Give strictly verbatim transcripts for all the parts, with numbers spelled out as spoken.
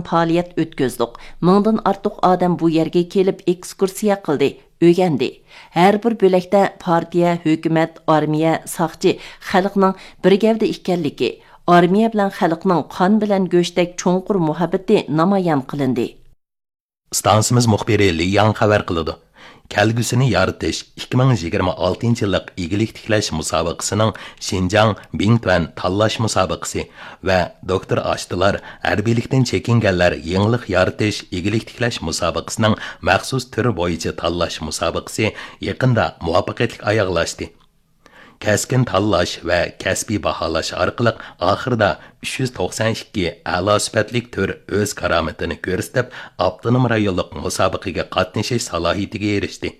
پائالىيەت ئۆتكۈزدۇق. مىڭدىن ئارتۇق ئادەم بۇ يەرگە كېلىپ ئېكسكۇرسىيە قىلدى، ئۆگەندى. ھەر بىر بۆلەكتە پارتىيە، ھۆكۈمەت، ئارمىيە، ساقچى، خەلقنىڭ بىر گەۋدە ئىكەنلىكى، ئارمىيە بىلەن خەلقنىڭ قان بىلەن گۆشتەك چوڭقۇر مۇھەببىتى نامايان قىلىندى. ئىستانسىمىز مۇخبىرى لى ياڭ خەۋەر قىلىدۇ. كەلگۈسىنى يارىتىش ئىككى مىڭ يىگىرمە ئالتىنچى يىللىق ئىگىلىك تىكلەش مۇسابىقىسىنىڭ شىنجاڭ بىڭتۈەن تاللاش مۇسابىقىسى ۋە دوكتور ئاشتىلار ھەربىيلىكتىن چېكىنگەنلەر يېڭىلىق يارىتىش ئىگىلىك تىكلەش مۇسابىقىسىنىڭ مەخسۇس تۈرى بويىچە تاللاش مۇسابىقىسى يېقىندا مۇۋەپپەقىيەتلىك ئاياغلاشتى. كەسكىن تاللاش ۋە كەسپىي باھالاش ئارقىلىق ئاخىرىدا ئۈچ يۈز توقسان ئىككى ئەلا سۈپەتلىك تۈر ئۆز كارامىتىنى كۆرسىتىپ، ئاپتونوم رايونلۇق مۇسابىقىگە قاتنىشىش سالاھىيىتىگە ئېرىشتى.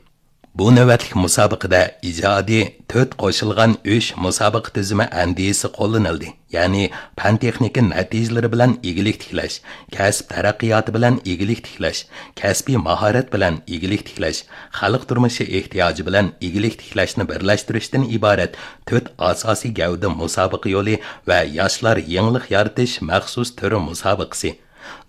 بۇ نۆۋەتلىك مۇسابىقىدە ئىجادىي تۆت قوشۇلغان ئۈچ مۇسابىقە تۈزۈمى ئەندىزىسى قوللىنىلدى. يەنى پەن-تېخنىكا نەتىجىلىرى بىلەن ئىگىلىك تىكلەش، كەسىپ تەرەققىياتى بىلەن ئىگىلىك تىكلەش، كەسپىي ماھارەت بىلەن ئىگىلىك تىكلەش، خەلق تۇرمۇشى ئېھتىياجى بىلەن ئىگىلىك تىكلەشنى بىرلەشتۈرۈشتىن ئىبارەت تۆت ئاساسىي گەۋدە مۇسابىقە يولى ۋە ياشلار يېڭىلىق يارىتىش مەخسۇس تۈرى مۇسابىقىسى،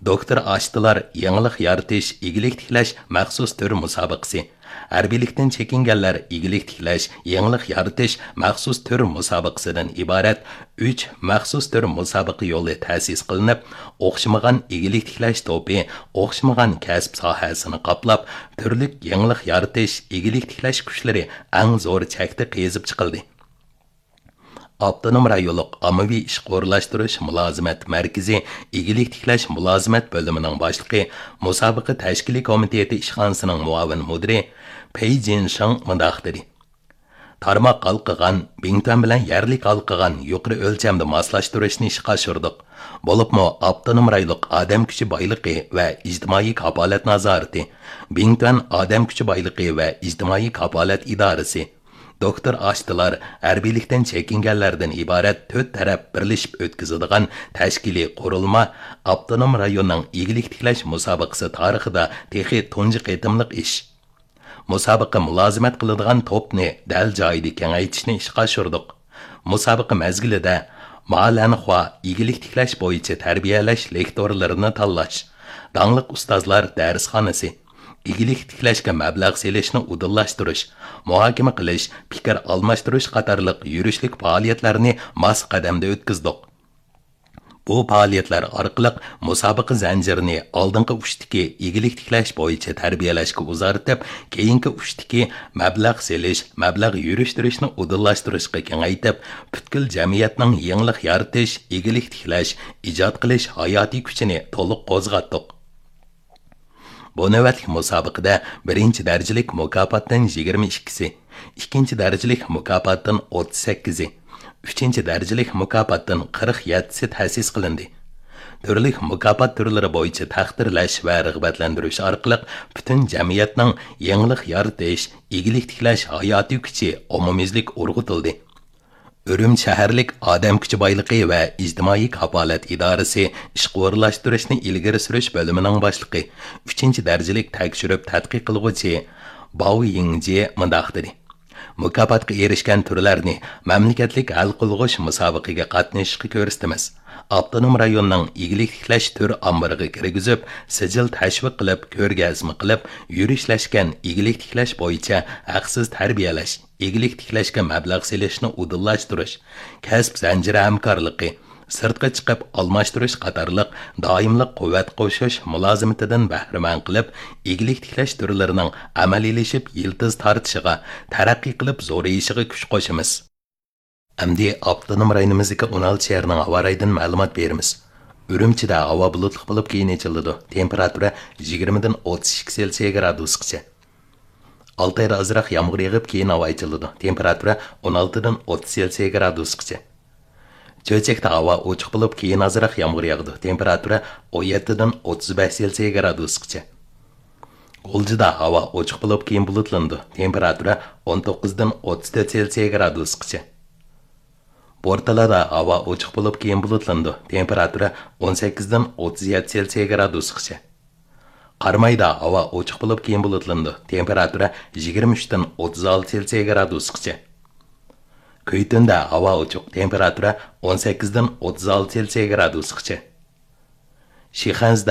دوكتور ئاشتىلار يېڭىلىق يارىتىش، ئىگىلىك تىكلەش مەخسۇس تۈر مۇسابىقىسى، ھەربىيلىكتىن چېكىنگەنلەر ئىگىلىك تىكلەش، يېڭىلىق يارىتىش مەخسۇس تۈر مۇسابىقىسىدىن ئىبارەت ئۈچ مەخسۇس تۈر مۇسابىقە يولى تەسىس قىلىنىپ، ئوخشىمىغان ئىگىلىك تىكلەش توپى ئوخشىمىغان كەسىپ ساھەسىنى قاپلاپ، تۈرلۈك يېڭىلىق يارىتىش، ئىگىلىك تىكلەش كۈچلىرى ئەڭ زور چەكتە قېزىپ چىقىلدى. ئاپتونوم رايونلۇق ئاممىۋى ئىشقا ئورۇنلاشتۇرۇش مۇلازىمەت مەركىزى ئىگىلىك تىكلەش مۇلازىمەت بۆلۈمىنىڭ باشلىقى، مۇسابىقە تەشكىلىي كومىتېتى ئىشخانىسىنىڭ مۇئاۋىن مۇدىرى پېي جىنشېڭ مۇنداق دېدى: تارماق ھالقىغان، بىڭتۈەن بىلەن يەرلىك ھالقىغان يۇقىرى ئۆلچەمدە ماسلاشتۇرۇشنى ئىشقا ئاشۇردۇق. بولۇپمۇ ئاپتونوم رايونلۇق ئادەم كۈچى بايلىقى ۋە ئىجتىمائىي كاپالەت نازارىتى، بىڭتۈەن ئادەم كۈچى بايلىقى ۋە ئىجتىمائىي كاپالەت ئىدارىسى، دوكتور ئاشتىلار ھەربىيلىكتىن چېكىنگەنلەردىن ئىبارەت تۆت تەرەپ بىرلىشىپ ئۆتكۈزىدىغان تەشكىلىي قۇرۇلما ئاپتونوم رايوننىڭ ئىگىلىك تىكلەش مۇسابىقىسى تارىخىدا تېخى تۇنجى قېتىملىق ئىش. مۇسابىقە مۇلازىمەت قىلىدىغان توپنى دەل جايىدا كېڭەيتىشنى ئىشقا ئاشۇردۇق. مۇسابىقە مەزگىلىدە مالەنخۇا ئىگىلىك تىكلەش بويىچە تەربىيەلەش لېكتورلىرىنى تاللاش، داڭلىق ئۇستازلار دەرسخانىسى، ئىگىلىك تىكلەشكە مەبلەغ سېلىشنى ئۇدۇللاشتۇرۇش، مۇھاكىمە قىلىش، پىكىر ئالماشتۇرۇش قاتارلىق يۈرۈشلۈك پائالىيەتلەرنى ماس قەدەمدە ئۆتكۈزدۇق. بۇ پائالىيەتلەر ئارقىلىق مۇسابىقە زەنجىرىنى ئالدىنقى ئۇچتىكى ئىگىلىك تىكلەش بويىچە تەربىيەلەشكە ئۇزارتىپ، كېيىنكى ئۇچتىكى مەبلەغ سېلىش، مەبلەغ يۈرۈشتۈرۈشنى ئۇدۇللاشتۇرۇشقا كېڭەيتىپ، پۈتكۈل جەمئىيەتنىڭ يېڭىلىق يارىتىش، ئىگىلىك تىكلەش، ئىجاد قىلىش ھاياتىي كۈچىنى تولۇق قوزغاتتۇق. بۇ نۆۋەتلىك مۇسابىقىدە بىرىنچى دەرىجىلىك مۇكاپاتتىن يىگىرمە ئىككىسى، ئىككىنچى دەرىجىلىك مۇكاپاتتىن ئوتتۇز سەككىزى، ئۈچىنچى دەرىجىلىك مۇكاپاتتىن قىرىق يەتتىسى تەسىس قىلىندى. تۈرلۈك مۇكاپات تۈرلىرى بويىچە تەقدىرلەش ۋە رىغبەتلەندۈرۈش ئارقىلىق پۈتۈن جەمئىيەتنىڭ يېڭىلىق يارىتىش، ئىگىلىك تىكلەش ھاياتىي كۈچى ئومۇميۈزلۈك ئۇرغۇتۇلدى. ئۈرۈمچى شەھەرلىك ئادەم كۈچى بايلىقى ۋە ئىجتىمائىي كاپالەت ئىدارىسى ئىشقا ئورۇنلاشتۇرۇشنى ئىلگىرى سۈرۈش بۆلۈمىنىڭ باشلىقى، ئۈچىنچى دەرىجىلىك تەكشۈرۈپ تەتقىق قىلغۇچى باۋ يىڭجى مۇنداق دېدى: مۇكاپاتقا ئېرىشكەن تۈرلەرنى مەملىكەتلىك ھەل قىلغۇچ مۇسابىقىگە قاتنىشىشقا كۆرسىتىمىز. ئاپتونوم رايوننىڭ ئىگىلىك تىكلەش تۈر ئامبىرىغا كىرگۈزۈپ، سىجىل تەشۋىق قىلىپ، كۆرگەزمە قىلىپ، يۈرۈشلەشكەن ئىگىلىك تىكلەش بويىچە ھەقسىز تەربىيەلەش، ئىگىلىك تىكلەشكە مەبلەغ سېلىشنى ئۇدۇللاشتۇرۇش، كەسىپ زەنجىرى ھەمكارلىقى، سىرتقا چىقىپ ئالماشتۇرۇش قاتارلىق دائىملىق قۇۋۋەت قوشۇش مۇلازىمىتىدىن بەھرىمەن قىلىپ، ئىگىلىك تىكلەش تۈرلىرىنىڭ ئەمەلىيلىشىپ يىلتىز تارتىشىغا، تەرەققىي قىلىپ زورىيىشىغا كۈچ قوشىمىز. ئەمدى ئاپتونوم رايونىمىزدىكى ئون ئالتە شەھەرنىڭ ھاۋا رايىدىن مەلۇمات بېرىمىز. ئۈرۈمچىدە ھاۋا بۇلۇتلۇق بولۇپ، كېيىن ئېچىلىدۇ. تېمپېراتۇرا يىگىرمىدىن ئوتتۇز ئىككى سېلسىيە گرادۇسقىچە. ئالتايدا ئازراق يامغۇر يېغىپ، كېيىن ھاۋا ئېچىلىدۇ. تېمپېراتۇرا ئون ئالتىدىن ئوتتۇز سېلسىيە گرادۇسقىچە. چۆچەكتە ھاۋا ئوچۇق بولۇپ، كېيىن ئازراق يامغۇر ياغىدۇ. تېمپېراتۇرا ئون يەتتىدىن ئوتتۇز بەش سېلسىيە گرادۇسقىچە. غۇلجىدا ھاۋا ئوچۇق بولۇپ، كېيىن بۇلۇتلىنىدۇ. تېمپېراتۇرا ئون توققۇزدىن ئوتتۇز تۆت سېلسىيە گرادۇسقىچە. بورتالادا ھاۋا ئوچۇق بولۇپ، كېيىن بۇلۇتلىنىدۇ. تېمپېراتۇرا ئون سەككىزدىن ئوتتۇز يەتتە سېلسىيە گرادۇسقىچە. قارامايدا ھاۋا ئوچۇق بولۇپ، كېيىن بۇلۇتلىنىدۇ. تېمپېراتۇرا يىگىرمە ئۈچتىن ئوتتۇز ئالتە سېلسىيە گرادۇسقىچە. كۈيتۈندە ھاۋا ئوچۇق، تېمپېراتۇرا ئون سەككىزدىن ئوتتۇز ئالتە سېلسىيە گرادۇسقىچە. شىخەنزىدە